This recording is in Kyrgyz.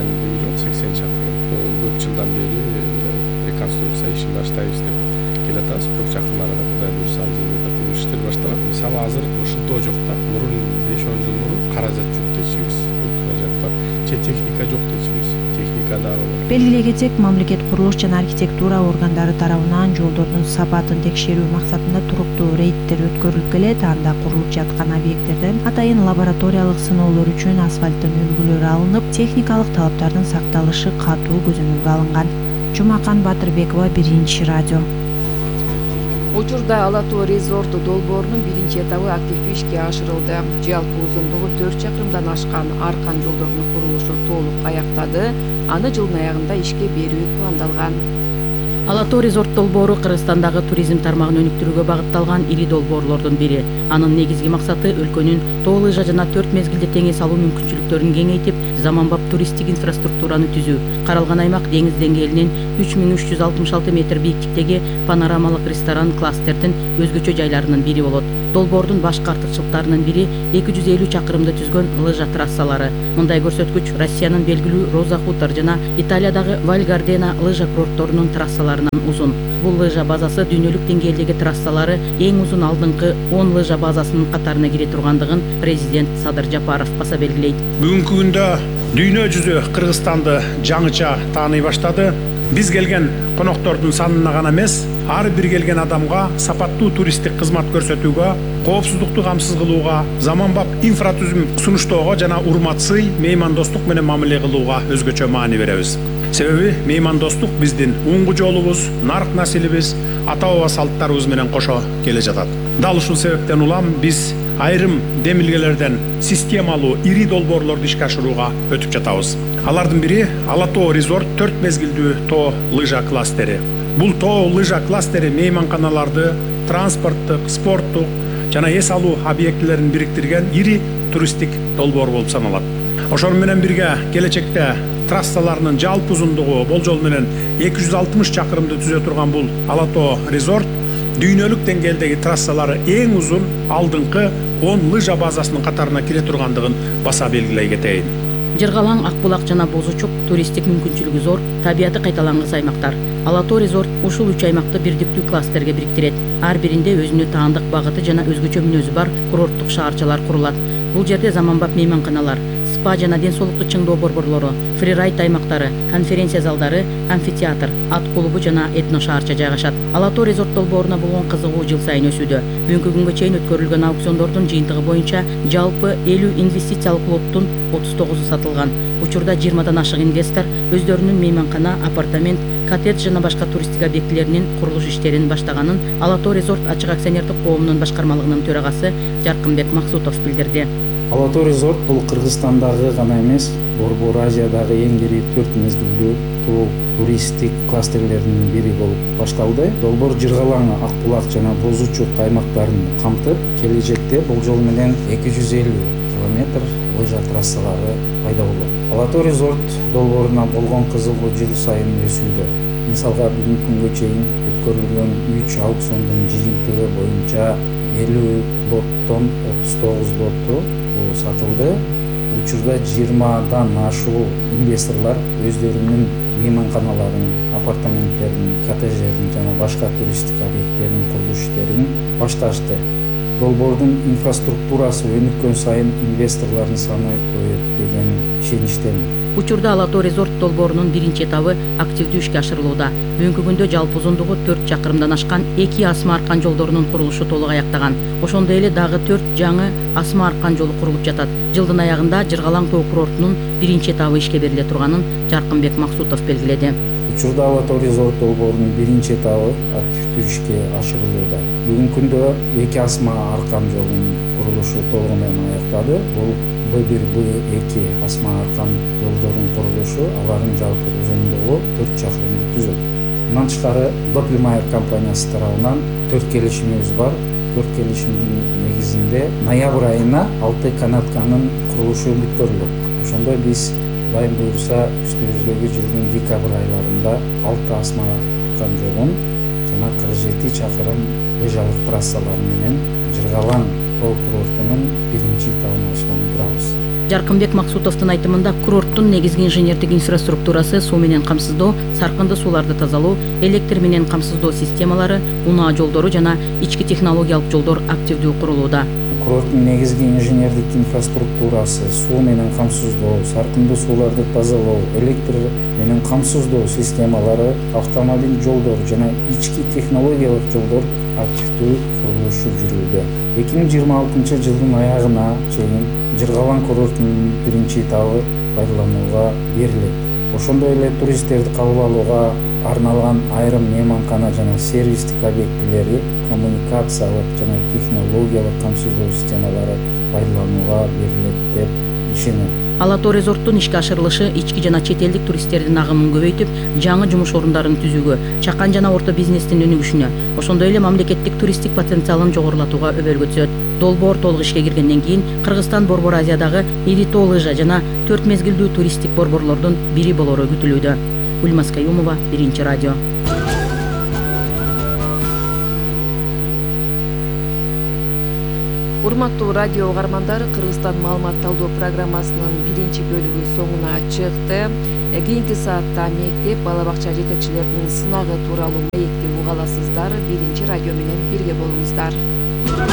маанилүүлүгү жок. 80 чакырым көп жылдан бери реконструкция ишин баштайбыз деп келатабыз. Бирок жакын арада Кудай буйрса ал жерде курулуш иштери башталат. Мисалы азыр ушунтоо жок да. Мурун 5-10 жыл мурун каражат жок дечүбүз. Каражат бар. Же техника жок дечүбүз. Техника дагы бар. Белгилей кетсек, мамлекет курулуш жана архитектура органдары тарабынан жолдордун сапатын текшерүү максатында туруктуу рейдтер өткөрүлүп келет. Анда курулуп жаткан объекттерден атайын лабораториялык сыноолор үчүн асфальттын үлгүлөрү алынып, техникалык талаптардын сакталышы катуу көзөмөлгө алынган. Жумакан Батырбекова, Биринчи радио. Учурда Ала Тоо резорт долбоорунун биринчи этабы активдүү ишке ашырылды. Жалпы узундугу 4 чакырымдан ашкан аркан жолдордун курулушу толук аяктады. Аны жылдын аягында ишке берүү пландалган. Ала Тоо резорт долбоору Кыргызстандагы туризм тармагын өнүктүрүүгө багытталган ири долбоорлордун бири. Анын негизги максаты өлкөнүн тоо лыжа жана 4 мезгилде теңиз алуу мүмкүнчүлүктөрүн кеңейтип, заманбап туристтик инфраструктураны түзүү. Каралган аймак деңиз деңгээлинен 3366 метр бийиктиктеги панорамалык ресторан кластердин өзгөчө жайларынын бири болот. Долбоордун башкы артыкчылыктарынын бири 250 чакырымды түзгөн лыжа трассалары. Мындай көрсөткүч Россиянын белгилүү Роза Хутор жана Италиядагы Валь Гардена лыжа курортторунун трассаларынан узун. Бул лыжа базасы дүйнөлүк деңгээлдеги трассалары эң узун алдыңкы 10 лыжа базасынын катарына кире тургандыгын президент Садыр Жапаров баса белгилейт. Бүгүнкү күндө дүйнө жүзү Кыргызстанды жаңыча тааный баштады. Биз келген коноктордун санына гана эмес, ар бир келген адамга сапаттуу туристтик кызмат көрсөтүүгө, коопсуздукту камсыз кылууга, заманбап инфратүзүм сунуштоого жана урмат-сый, меймандостук менен мамиле кылууга өзгөчө маани беребиз. Себеби меймандостук биздин уңгу жолубуз, нарк насилибиз, ата-баба салттарыбыз менен кошо келе жатат. Дал ушул себептен улам биз айрым демилгелерден системалуу ири долбоорлорду ишке ашырууга өтүп жатабыз. Алардын бири Ала Тоо резорт 4 мезгилдүү тоо лыжа кластери. Бул тоо лыжа кластери мейманканаларды, транспорттук, спорттук жана эс алуу объектилерин бириктирген ири туристтик долбоор болуп саналат. Ошону менен бирге келечекте трассаларынын жалпы узундугу болжол менен 260 чакырымды түзө турган бул Ала Тоо резорт дүйнөлүк деңгээлдеги трассалары эң узун алдыңкы 10 лыжа базасынын катарына кире тургандыгын баса белгилей кетейин. Жыргалаң, Акбулак жана Бозучук туристтик мүмкүнчүлүгү зор, табияты кайталангыс аймактар. Ала Тоо резорт ушул 3 аймакты бирдиктүү кластерге бириктирет. Ар биринде өзүнө таандык багыты жана өзгөчө мүнөзү бар курорттук шаарчалар курулат. Бул жерде заманбап мейманканалар, спа жана ден соолукту чыңдоо борборлору, фрирайд аймактары, конференция залдары, амфитеатр, ат клубу жана этно шаарча жайгашат. Ала Тоо резорт долбооруна болгон кызыгуу жыл сайын өсүүдө. Бүгүнкү күнгө чейин өткөрүлгөн аукциондордун жыйынтыгы боюнча жалпы 50 инвестициялык лоттун 39-у сатылган. Учурда 20дан ашык инвестор өздөрүнүн мейманкана, апартамент, коттедж жана башка туристтик объектилеринин курулуш иштерин баштаганын Ала Тоо резорт ачык акционердик коомунун башкармалыгынын төрагасы Жаркынбек Максутов билдирди. Ала Тоо резорт бул Кыргызстандагы гана эмес, Борбор Азиядагы эң ири 4 мезгилдүү тоо туристтик кластерлеринин бири болуп башталды. Долбоор Жыргалаң, Акбулак жана Бозучук аймактарын камтып, келечекте болжол менен 250 километр лыжа трассалары пайда болот. Ала Тоо резорт долбооруна болгон кызыгуу жыл сайын өсүүдө. Мисалга бүгүнкү күнгө чейин өткөрүлгөн 3 аукциондун жыйынтыгы боюнча 50 лоттон 39 лотту сатылды. Учурда 20дан ашуу инвесторлор өздөрүнүн мейманканаларын, апартаменттерин, коттедждерин жана башка туристтик объекттерин курулуш иштерин башташты. Долбоордун инфраструктурасы өнүккөн сайын инвесторлордун саны көбөйөт деген ишеничтемин. Учурда Ала Тоо резорт долбоорунун биринчи этабы активдүү ишке ашырылууда. Бүгүнкү күндө жалпы узундугу 4 чакырымдан ашкан 2 асма аркан жолдорунун курулушу толук аяктаган. Ошондой эле дагы 4 жаңы асма аркан жолу курулуп жатат. Жылдын аягында Жыргалаң тоо курортунун биринчи этабы ишке бериле турганын Жаркынбек Максутов белгиледи. Учурда Ала Тоо резорт долбоорунун биринчи этабы активдүү ишке ашырылууда. Бүгүнкү күндө 2 асма аркан жолунун курулушу толугу менен аяктады. Бул Б1, Б2 асма аркан жолдорунун курулушу алардын жалпы узундугу 4 чакырымды түзөт. Мындан тышкары Доплмайер компаниясы тарабынан 4 келишимибиз бар. 4 келишимдин негизинде ноябрь айына 6 канатканын курулушу бүткөрүлөт. Ошондо биз Кудай буйрса үстүбүздөгү жылдын декабрь айларында 6 асма аркан жолун жана 47 чакырым лыжалык трассалар менен Жыргалаң тоо курортунун биринчи этабын ачканын турабыз. Жаркынбек Максутовдун айтымында курорттун негизги инженердик инфраструктурасы суу менен камсыздоо, саркынды сууларды тазалоо, электр менен камсыздоо системалары, унаа жолдору жана ички технологиялык жолдор активдүү курулууда. Курорттун негизги инженердик инфраструктурасы суу менен камсыздоо, саркынды сууларды тазалоо, электр менен камсыздоо системалары, автомобиль жолдору жана ички технологиялык жолдор активдүү курулушу жүрүүдө. 2026 жылдын аягына чейин Жыргалан курортунун биринчи этабы пайдаланууга берилет. Ошондой эле туристтерди кабыл алууга арналган айрым мейманкана жана сервистик объектилери, коммуникациялык жана технологиялык камсыздоо системалары пайдаланууга берилет деп ишенем. Ала Тоо резорттун ишке ашырылышы ички жана чет элдик туристтердин агымын көбөйтүп, жаңы жумуш орундарын түзүүгө, чакан жана орто бизнестин өнүгүшүнө, ошондой эле мамлекеттик туристтик потенциалын жогорулатууга өбөлгө түзөт. Долбоор толук ишке киргенден кийин Кыргызстан Борбор Азиядагы ири тоо лыжа жана 4 мезгилдүү туристтик борборлордун бири болору күтүлүүдө. Ульмас Каюмова, Биринчи радио. Урматтуу радио угармандар, Кыргызстан маалымат талдоо программасынын биринчи бөлүгү соңуна чыкты. Кийинки саатта мектеп, бала бакча жетекчилеринин сынагы тууралуу маекти уга аласыздар. Биринчи радио менен бирге болуңуздар.